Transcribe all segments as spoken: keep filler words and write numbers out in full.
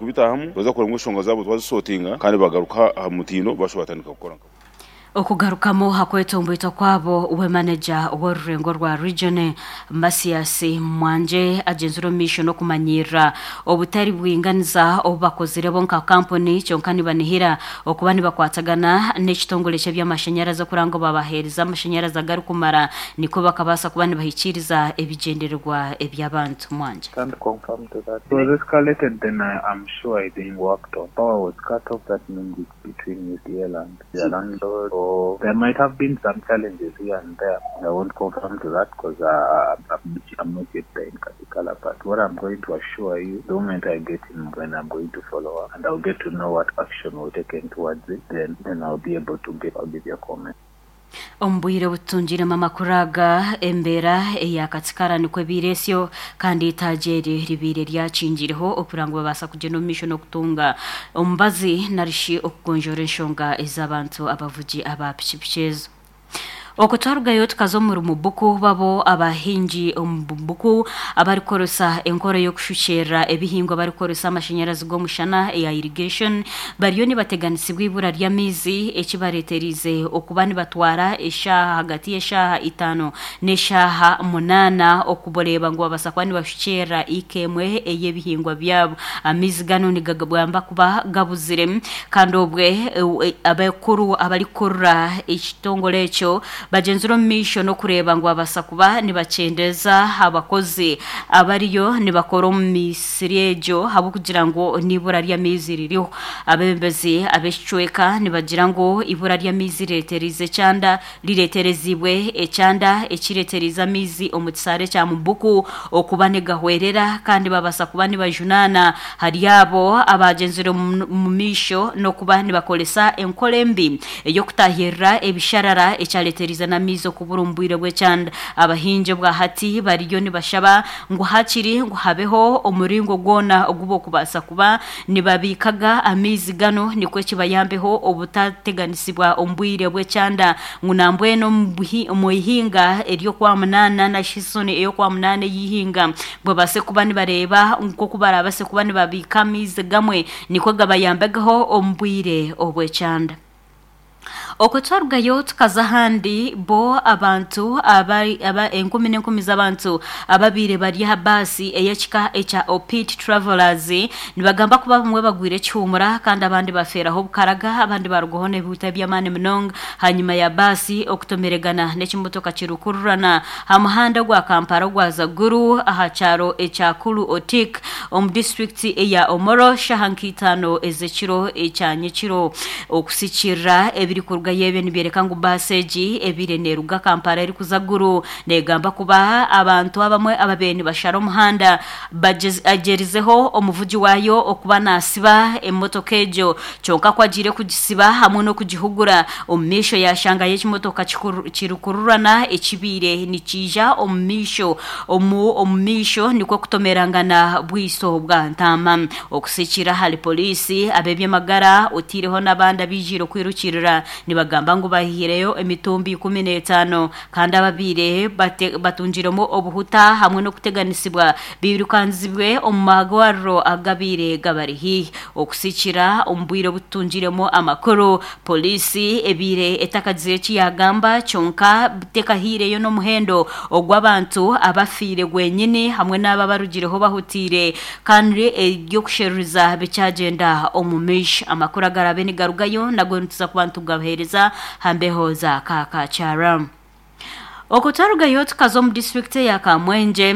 Kubitahamu twaza kureba ngu enshonga zaabo twazisortinga kandi bagaruka aha mutindo, bashuba batandika kukora. Okugarukamu hakwetombwitwa kwabo, we manager w'orurengo rwa region, Masias Mwanje, agenzire omu maisho n'okumanyirira obutari bwinganiza obu bakozire bo nka kampuni, kyonka nibanihira okuba nibakwatagana n'ekitongore ky'ebyamashanyarazi okuranga ngu babaheereza amashanyarazi agarikumara, nikwo bakabaasa kuba nibahikiiriza ebigyendererwa eby'abantu. Mwanje. Can't confirm to that. It was escalated, then I am sure it being worked on. Power was cut off, that means it's between U C L and the landlord. Or there might have been some challenges here and there. I won't confirm to that because uh, I'm, I'm not yet there in Katikala. But what I'm going to assure you, the moment I get in, when I'm going to follow up and I'll get to know what action was taken towards it, then, then I'll be able to give, I'll give you a comment. Omu bwire butungiremu amakuru aga, embeera eya Katikara nikwo ebiire esyo, kandi itaagi eri ribiire ryakingireho okugira ngu babaasa kugyenda omu maisho n'okutunga omubazi narishi okugonjoora enshonga ez'abantu abavugi aba pikipiki ezo. Okwo twarugayo tukaza omuri Mubuku, babo abahingi omu Bubuku abarikukoresa enkora y'okushukyerera ebihingwa barikukoresa amashanyarazi g'omushana eya irrigation bariyo nibateganisibwa ibura ry'amaizi, ekibareeterize okuba nibatwara eshaaha hagati y'eshaaha itaano n'eshaaha munaana okubareeba ngu babaasa kuba nibashukyerera ika emwe ey'ebihingwa byabo. Amaizi gano nigagamba kuba gabuzire, kandi obwe abakuru abarikukurira ekitongore ekyo bagyenzire omu maisho n'okureeba ngu babaasa kuba nibakyendeza abakozi abariyo nibakora omu misiri egyo ahabw'okugira ngu n'ibura ry'amaizi ririho. Abeebembezi ab'ekicweka nibagira ngu ibura ry'amaizi rireeterize ekyanda, rireeterezibwe ekyanda ekireeterize amaizi omu kisaare kya Mubuku okuba nigahwerera, kandi babaasa kuba nibajunaana hari abo abagyenzire omu maisho n'okuba nibakoresa enkora embi ey'okutahirira ebisharara, ekyareeterize n'amaizi okubura omu bwire bw'ekyanda. Abahingi obwahati bariyo nibashaba ngu hakiri ngu habeho omuringo gwona ogu bokubaasa kuba nibabiikaga amaizi gano, nikwo kibayambeho obutateganisibwa omu bwire bw'ekyanda, ngu nambwenu omu ihinga ery'okwa munaana na season ey'okwa munaana ey'ihinga babaase kuba nibareeba nk'oku barabaase kuba nibabiika amaizi gamwe, nikwo gabayambeho omu bwire obw'ekyanda. Okwo twarugayo tukaza ahandi, bo abantu aba, aba enkumi n'enkumi z'abantu ababiire bari aha baasi ey'ekika ekya Opit Travelers nibagamba kuba bamwe bagwire ekihumura, kandi abandi bafeeraho obukaraga, abandi barugaho n'ebihuta by'amaani munonga hanyuma ya baasi okutomeregana n'ekimotoka kirukururana aha muhanda gwa Kampala ogwaza Gulu aha kyaro ekya Kulu Otik omu disitulikiti eya Omoro shaha nk'itaano ez'ekiro ekya nyekiro. Okusikirira ebirikurugayo ebyo nibyereka ngu baasi egi ebiire neeruga Kampala erikuza Gulu, negamba kuba abantu abamwe ababaire nibashara omuhanda bagyerizeho omuvugi waayo okuba nasiba emotoka egyo, kyonka ku agiire kugisiba hamwe n'okugihugura, omu maisho yashangayo ekimotoka kirukururana ekibiire nikiija omu maisho omu omu maisho, nikwo kutomerangana bwiso bwa ntaama. Okusikira ahari poliisi, ab'ebyamagara otiireho n'abandi abijiire okwirukirira nibagamba ngu bahiireyo emitumbi ikumi n'etaano, kandi ababiire batungiremu obuhuta hamwe n'okuteganisibwa birukanzibwe omu magwariro agabiire gabari haihi. Okusikira omu bwire obutungiremu amakuru, poliisi ebiire etakagizire eki yagamba, kyonka tekahiireyo n'omuhendo ogw'abantu abafiire gwenyini hamwe n'abo abarugireho bahutiire, kandi eby'okusheruriza bikyagenda omu maisho. Amakuru agarabe nigarugayo nago nituza kuba nitugabaheereza hambeho za Kakakyara. Okwo twarugayo tukaza omu disitulikiti eya Kamwengye.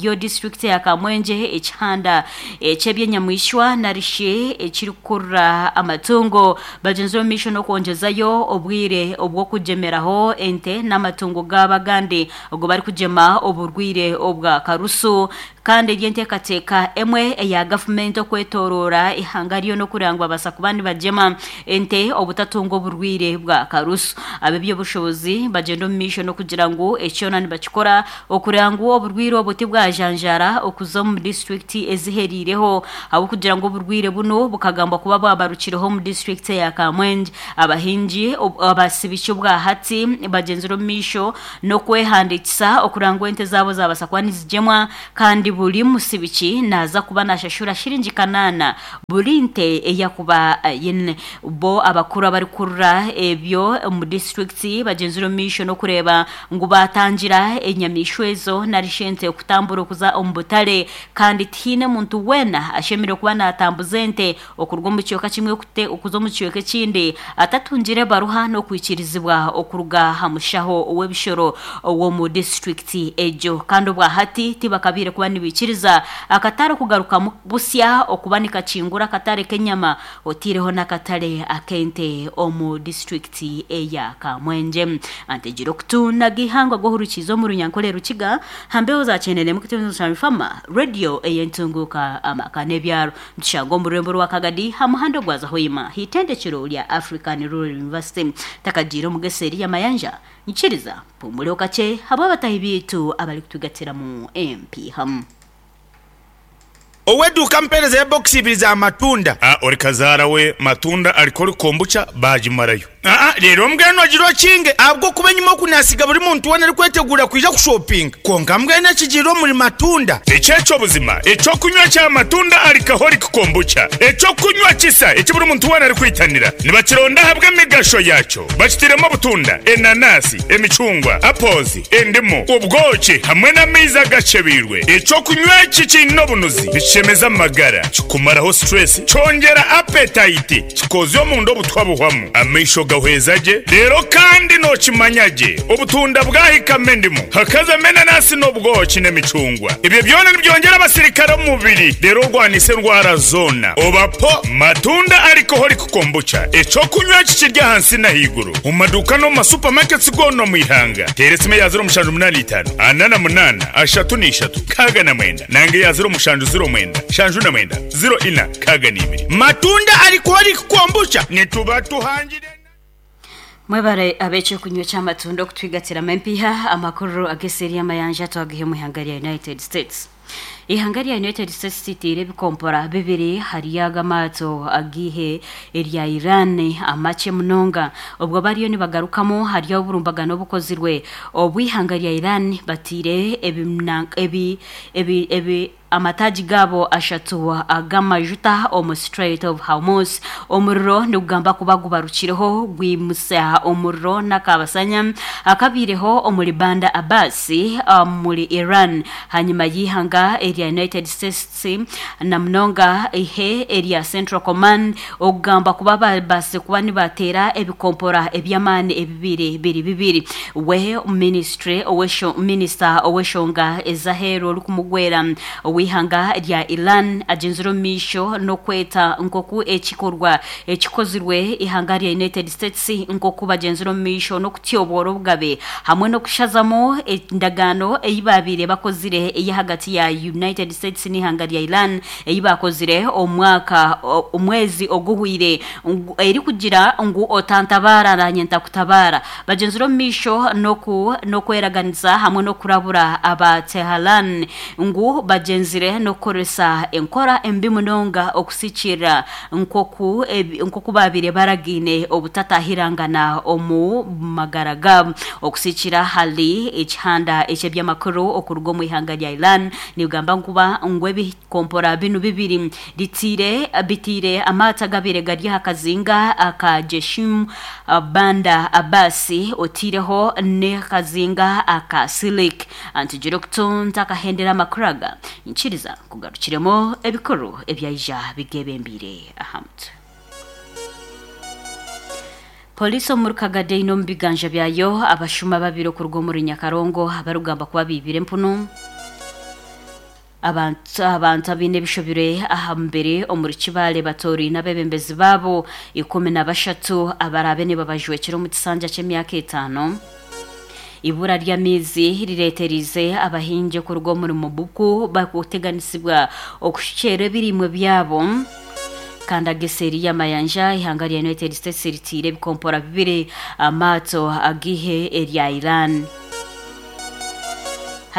Yo disitulikiti eya Kamwengye, ekihanda eky'ebyenyamwishwa narishi ekirikukurura amatungo bagyenzire omu maisho n'okwongyezayo obwire obw'okugyemeraho ente n'amatungo gaabo agandi ogu barikugyema oburwire obwa karusu, kandi eri enteekateeka emwe eya gavumenti okwetooroora ihanga ryo n'okureba ngu babaasa kuba nibagyema ente obutatunga oburwire bwa karusu. Ab'ebyobushobozi bagyenda omu maisho n'okugira ngu ekyona nibakikora okureba ngu oburwire obu tibwajanjaara okuza omu disitulikiti eziheriireho, ahabw'okugira ngu oburwire buno bukagambwa kuba bwabarukireho omu disitulikiti eya Kamwengye. Abahingi abasibiki obwahati bagyenzire omu maisho n'okwehandiikisa okureba ngu ente zaabo zabaasa kuba nizigyemwa kandi. buri musibiki naza kuba nashashura shiringi kanana buri nte eyakuba yine bo abakuru abari kurura ebyo mu district bagenzura mission okureba ngu batangira enyamishwa ezo narishente okutambura okuza omu butare kandi tihine muntu wena ashemire kuba natambuza ente okurwa mu cyoka kimwe okute okuza mu cyoka ekindi atatungire baruha no kwikirizibwa okuruga hamushaho ow'ebishoro owo mu district ejo kandi obwahati tibakabire kuba nibikiriza akatare kugaruka busya okuba nikakingura akatare kenyama otireho nakatare akente omu district eya Kamwenje. Antegiro kutuna gihangwa gohurukizo mu runyankole rukiga hambeho zachenene mu kitezo cha mfama radio eyentunguka amaka nebyaro mtushango mu rwembo rwa Kagadi hamuhando gwaza hoima hitendekero lya African Rural University takajiro mugeseri ya mayanja nkiriza pumule okache habo batahi bitu abali kutugatira mu M P ham. Oweduka mpereza ya box ibiri za matunda. Ah, ori kazara we matunda alikori kombucha bajimarayo. Ah ah, rero mbweno agiro kinge abwo kuba nyuma kunasiga buri muntu wana ari kwetegura kuja ku shopping. Konka mbwene kijiro muri matunda. Echecho buzima, echo kunywa cha matunda alikahori kombucha. Echo kunywa kisa, echo buri muntu wana ari kwitanira. Nibakironda habwe migasho yacho. Bakitiremo butunda, enanasi, emicungwa, apples, endimu, ubwoki hamwe n'amaizi agacebirwe. Echo kunywa iki kino bunuzi. Chemeza magara kikumaraho stress chongera appetite kikozyo mu ndo butwabuhwamu amaisho gahwezaje rero kandi no kimanyaje obutunda bwahikame ndimu hakaza menanasi n'obwoki n'emicungwa ibyo byona nibyongera abasirikare mu mubiri rero rwanise ndwara zona obapo matunda alcoholic kombucha eco kunywa kikirya hansi na higuru mu maduka no mu supermarkets gono mu ihanga teresime ya zero mushanju munani itanu anana munana ashatu n'ishatu kaga na mwenda nange ya zero mushanju zero mwenda shanju na mwenda zero ina kaga n'ibiri matunda alcoholic kombucha nituba tuhangire. Mwebare abeche kunywa cha matunda kutwigatira mempiha amakuru ageseri amayanja twagihe mu ihanga lya United States. Ihanga lya United States titire bikompora bibiri hariyaga mato agihe erya Iran amache munonga obwo bariyo nibagarukamo hariyo oburumbagano bukozirwe obwihanga lya Iran batire ebi ebi ebi amataji gabo ashatu agamajuta omu Strait of Hormuz omuriro nigugamba kuba gubarukireho gwimusa omuriro nakabasanya akabireho omuri Banda Abbas muri Iran hanyuma yihanga erya United States na munonga ihe erya Central Command ogamba kuba base kuba nibatera ebikompora ebyamani ebibiri biri bibiri we ministry owesho minister oweshonga ezahero lukumugwera wihanga rya Iran agenzero misho no kweta nkoku ekikorwa ekikozirwe ihanga rya United States nkoku bagenzero misho no kutyobora obugabe hamwe no kushazamo endagano eyibabire bakozire eyahagati ya United States n'ihanga rya Iran eyibakozire omwaka omwezi oguhwire eri kugira ngu otantabara nanyenta kutabara bagenzero misho no no kweraganiza hamwe no kurabura aba Tehran ngu bagenzire no koresa enkora embi munonga okusikira nkoku nkoku babire baragine obutatahirangana omu magaraga okusikira hali ekihanda ekyebyamakuru okuruga mu ihanga rya Iran nigamba nkuba ngwe bikompora binu bibiri ditire bitire amata gabire gari hakazinga akajeshim Banda Abbasi otireho ne kazinga akasilik antijirokton takahendera makuraga nchiriza kugarukiremo ebikuru ebyaija bigebembire ahamt. Polisi omuri Kagade ino mubiganja byayo abashuma babiri okuruga omuri Nyakarongo abarugamba kuba bibire empunu abantu abantu abine bishobire ahambere omuri Kibale batori n'abebembezi babo ikumi na bashatu abarabe ne babajwekera mu kisanja cy'emyaka etano. Ibura ry'amizi rireterize abahinje kuruga omuri Mubuku bakuteganisibwa okushera ebirimwe byabo. Kanda geseri ya mayanja ihanga lya United States ritire bikompora bibiri amato agihe erya Iran.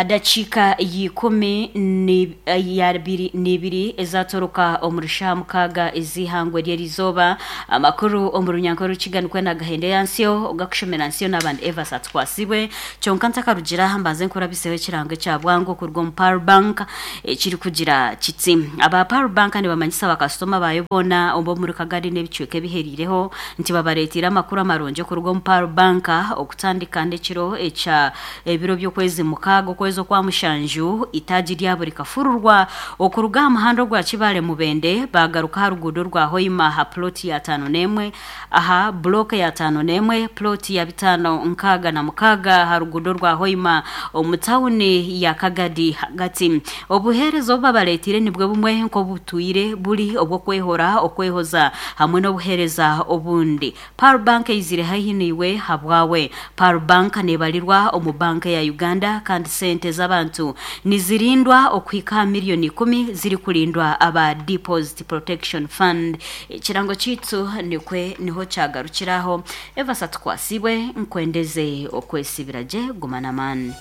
Hadakiika y'ikumi ni- ya biri n'ibiri ezatoroka omu rushaha mukaaga ez'ihangwe ry'erizooba. Amakuru omu runyanko rukiganikwe na gahende yansyo ogakushomera nsiyo n'abandi Evas atwasibwe. Kyonka ntakarugira, mbanze nkurabiseho ekirango ekya bwangu okuruga omu Power Bank ekiri kugira kiti: aba Power Bank nibamanyisa abakasitoma bayo boona ob'omuri Kagadi n'ebicweka ebiheriireho nti babareetire amakuru amarungi okuruga omu Power Bank. Okutandika n'ekiro ekya ebiro by'okwezi mukaaga okwezi okwa mushanju, itaagi rya buri kafururwa okuruga aha muhanda ogwa Kibaale Mubende bagaruka aha ruguudo rwa Hoima, aha ploti ya tano n'emwe, aha block ya tano n'emwe, ploti ya bitaano nkaaga na mukaaga, aha ruguudo rwa Hoima omu tawuni ya Kagadi hagati. Obuheereza obu babareetire nibwo bumwe nk'obutwire buri obw'okwehora, okwehoza hamwe n'obuheereza obundi. Power Bank eizire haihi niiwe habwawe. Power Bank neebarirwa omu banka ya Uganda, kandi sente z'abantu nizirindwa okuhika aha miliyoni ikumi zirikurindwa aba Deposit Protection Fund. Ekirango kiitu nikwe niho kyagarukiraho. Evasa tukwasibwe, nkwendeze okwesibira gye, guma n'amaani.